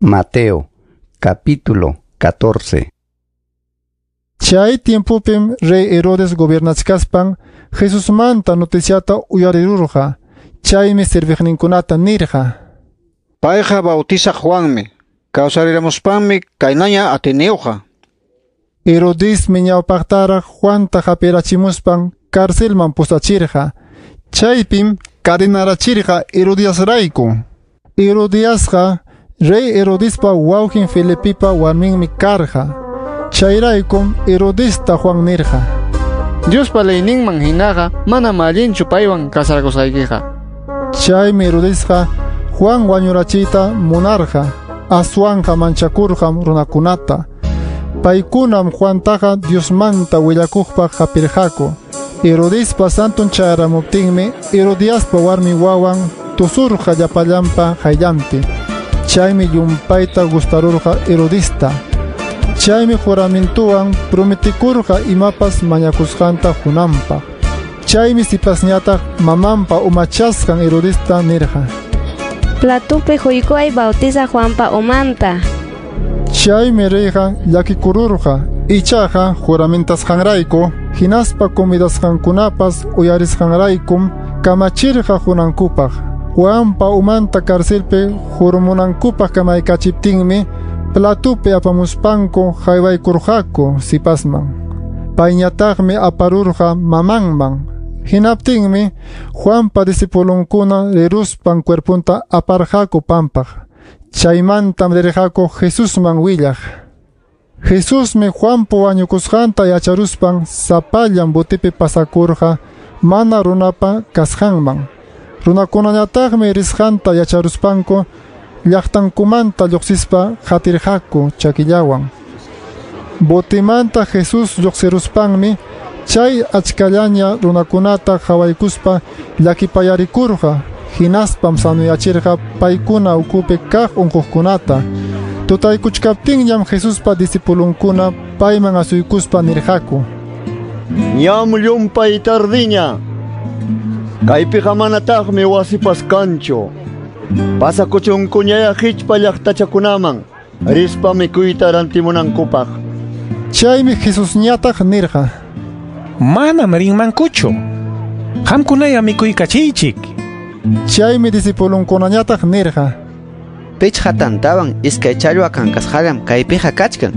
Mateo, capítulo 14. Chay tiempopim rey Herodes gobiernachkaspan Jesusmanta noticiata uyarirurqa. Chaymi serviqninkunata nirqa: Payqa bautizaq Juanmi, kawsariramuspanmi kaynaña atiniyuqqa. Herodesmi ñawpaqtaraq Juanta hapirachimuspan carcelman pusachirqa. Chaypim cadenarachirqa Herodiasrayku. Herodiasqa rey Herodespa wawqin Felipepa warminmi karqa. Chayraykum Herodesta Juan nirqa: Diospa leyninman hinaqa manam allinchu paywan casarakusqaykiqa. Chaymi Herodesqa Juan wañurachiyta munarqa, aswanqa manchakurqam runakunata. Paykunam Juantaqa Diosmanta willakuqpaq hapirqaku. Herodespa santon chayaramuptinmi Herodiaspa warmi wawan tusurqa llapallanpa qayllanpi. Chaymi llumpayta gustarurqa Herodesta. Chaymi juramentuwan prometikurqa imapas mañakusqanta qunanpaq. Chaymi sipasñataq mamanpa umachasqan Herodesta nirqa: Platupi huykuay bautizaq Juanpa umanta. Chaymi reyqa llakikururqa, ichaqa juramentasqanrayku hinaspa comidasqankunapas uyarisqanraykum kamachirqa qunankupaq. Juanpa umanta carcelpi hurumunankupaq kamaykachiptinmi platupi apamuspanku haywaykurqaku sipasman. Payñataqmi aparurqa mamanman. Hinaptinmi Juanpa discipulunkuna riruspan cuerpunta aparqaku pampaq. Chaymantam rirqaku Jesusman willaq. Jesusmi Juanpa wañukusqanta yacharuspan sapallan botipi pasakurqa mana runapa kasqanman. Runakunañataqmi risqanta yacharuspanku llaqtankumanta lluqsispa qatirqaku chakillawan. Botimanta Jesús lluqsiruspanmi chay achkallaña runakunata qhawaykuspa llakipayarikurqa, hinaspam sanuyachirqa paykuna ukupi kaq unquqkunata. Tutaykuchkaptinñam Jesuspa discipulunkuna payman asuykuspa nirqaku: Ñam llumpay tardiña. Kaypiqa manataqmi wasipas kanchu. Pasakuchunkuñaya hichpa llaqtachakunaman rispa mikuyta rantimunankupaq. Chaymi Jesusñataq nirqa: Manam rinmankuchu. Qamkunaya mikuykachiychik. Chaymi discipulunkunañataq nirqa: Pichqa tantawan iskay challwa kankasqallam kaypiqa kachkan.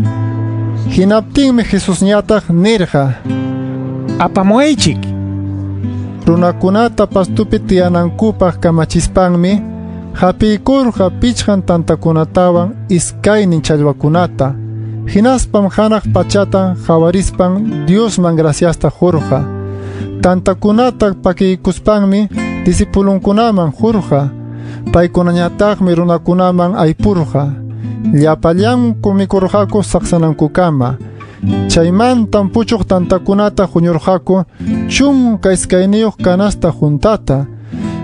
Hinaptinmi Jesusñataq nirqa: Apamuwaychik. Runakunata pastupi tiyanankupaq kamachispanmi hapiykurqa pichqan tantakunatawan iskaynin challwakunata. Hinaspam hanaq pachata qawarispan Diosman graciasta qurqa. Tantakunata pakiykuspanmi discipulunkunaman qurqa. Paykunañataqmi runakunaman aypurqa. Llapallanku mikurqaku saqsanankukama. Chaymantam puchuq tantakunata huñurqaku 12 canasta juntata.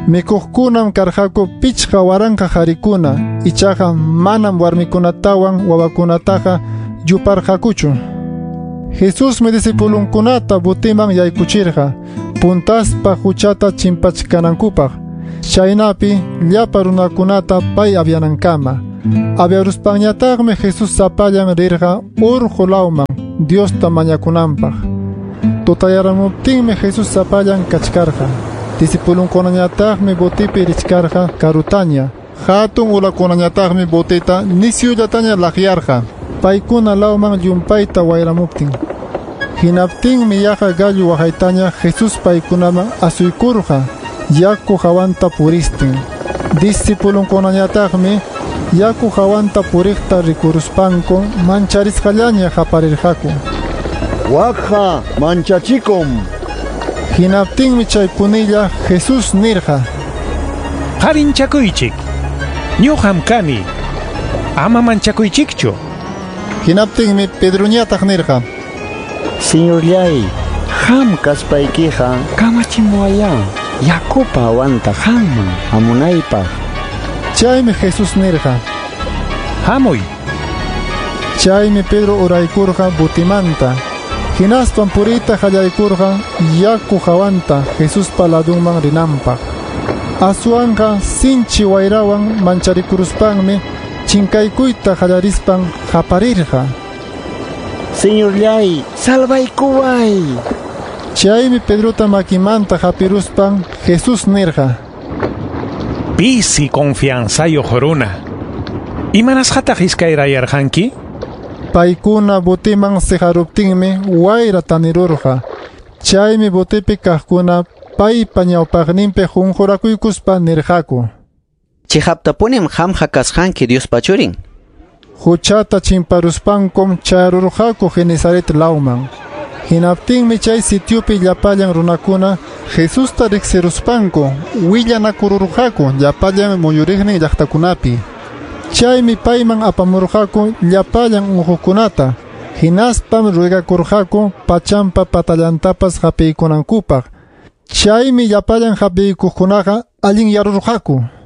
Mikuqkunam karqaku 5000 qarikuna, ichaqa manam warmikunatawan wawakunataqa yuparqakuchu. Jesusmi discipulunkunata botiman yaykuchirqa, puntaspa huchata chimpachkanankupaq. Chaynapi llapa runakunata pay avianankama. Aviaruspanñataqmi Jesús sapallan rirqa urqu lawman Diosta mañakunanpaq. Tutayaramuptinmi Jesús sapallan kachkarqa. Discipulunkunañataqmi botipi richkarqa karutaña. Hatun ulakunañataqmi botita nisyullataña laqyarqa. Paykuna lawman llumpayta wayramuptin. Hinaptinmi yaqa gallo waqaytaña Jesús paykunaman asuykurqa yaku hawanta puristin. Discipulunkunañataqmi yaku hawanta puriqta rikuruspanku mancharisqallaña qaparirqaku: Wakqa manchachikum. Hinaptinmi chay punilla Jesús nirqa: Qarinchakuychik. Ñuqam kani. Ama manchakuychikchu. Hinaptinmi Pedroñataq nirqa: Señorllay, qam kaspaykiqa kamachimuwayá yakupa hawanta qamman hamunaypaq. Chaymi Jesús nirqa: Hamuy. Chaymi Pedro uraykurqa botimanta. Hinaspam puriyta qallaykurqa yaku hawanta Jesuspa ladunman rinanpaq. Aswanqa sinchi wayrawan mancharikuruspanmi Chinkaykuyta qallarispan qaparirqa. Señorllay, salvaykuway. Chaymi Pedrota makimanta hapiruspan Jesús nirqa. Pisi confianzayuq runa. Imanasqataq iskayrayarqanki? Paykuna botiman siqaruptinmi wayra tanirurqa. Chaymi botipi kaqkuna paypa ñawpaqninpi qunqurakuykuspa nirqaku. Chiqaptapunim qamqa kasqanki Diospa churin. Huchata chimparuspankum chayarurqaku Genesaret lawman. Hinaptinmi chay sitiopi llapallan runakuna Jesusta riqsiruspanku willanakururqaku llapallan muyuriqnin llaqtakunapi. Chaymi payman apamurqaku llapallan unquqkunata. Hinaspam ruegakurqaku pachampa patallantapas hapiykunankupaq. Chaymi llapallan hapiykuqkunaqa allinyarurqaku.